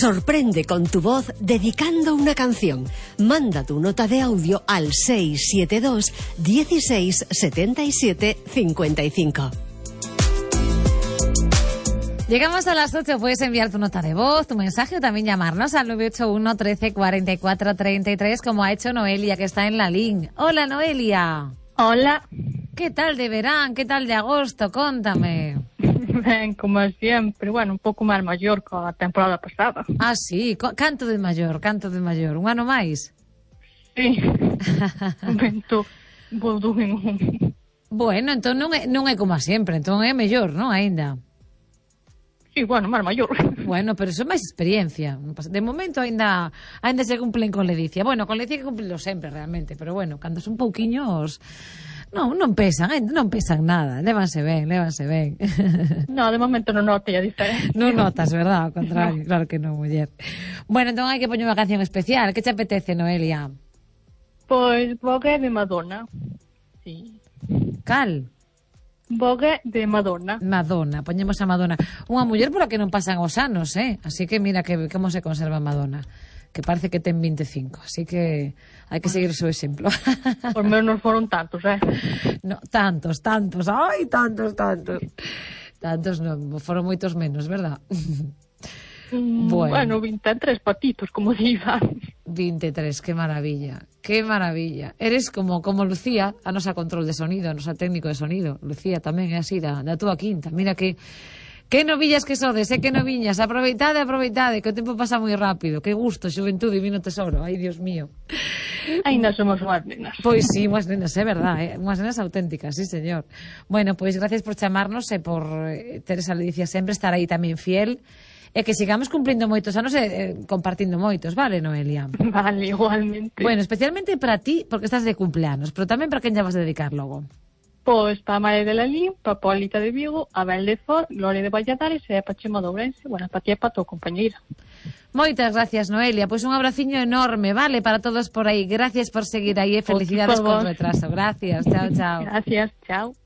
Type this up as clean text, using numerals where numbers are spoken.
Sorprende con tu voz dedicando una canción. Manda tu nota de audio al 672 16 77 55. Llegamos a las 8, puedes enviar tu nota de voz, tu mensaje o también llamarnos al 981 13 44 33 como ha hecho Noelia, que está en la línea. Hola, Noelia. Hola. ¿Qué tal de verano? ¿Qué tal de agosto? Contame. Ben, como siempre, bueno, un pouco máis maior que a temporada pasada. Ah, sí, canto de maior. Un ano máis? Sí. Vento, volvo en un... Bueno, entón non é como a sempre, entón é mellor, non, aínda? Sí, bueno, máis maior. Bueno, pero iso é máis experiencia. De momento aínda se cumplen con ledicia. Bueno, con ledicia que cumplilo sempre, realmente, pero bueno, cando son pouquiños... Non pesan nada, lévanse ben. No, de momento non noto a diferencia. Non notas, verdad? Ao contrario, no. Claro que non, muller. Bueno, entón hai que poñer unha canción especial. Que te apetece, Noelia? Pois Vogue de Madonna. Sí. Cal? Vogue de Madonna. Madonna, poñemos a Madonna. Unha muller pola que non pasan os anos, Así que mira que como se conserva Madonna. Que parece que ten 25, así que hai que seguir o seu exemplo. Por menos foron tantos, No, tantos, ai, tantos. Tantos non, foron moitos menos, verdad? Bueno, 23 patitos, como diga. 23, que maravilla. Eres como Lucía, a nosa control de sonido, a nosa técnico de sonido. Lucía tamén é así, da túa quinta. Mira que novillas que sodes, que noviñas. Aproveitade, que o tempo pasa moi rápido. Que gusto, xuventude, divino tesoro. Ai, Dios mío. Ainda somos unhas nenas. Pois sí, unhas nenas, é verdad, unhas nenas auténticas, sí, señor. Bueno, pois gracias por chamarnos e por ter esa ledicia sempre, estar aí tamén fiel, e que sigamos cumplindo moitos anos e compartindo moitos, vale, Noelia? Vale, igualmente. Bueno, especialmente para ti, porque estás de cumpleanos, pero tamén para quen ya vas a dedicar logo. Pois para María de Lalín, para Polita de Vigo, Abel de Ford, Gloria de Valladares e para Chema de Ourense. Bueno, para ti e para a tua compañeira. Moitas gracias, Noelia. Pois un abraciño enorme, vale, para todos por aí. Gracias por seguir aí e felicidades con retraso. Gracias, chao. Gracias, chao.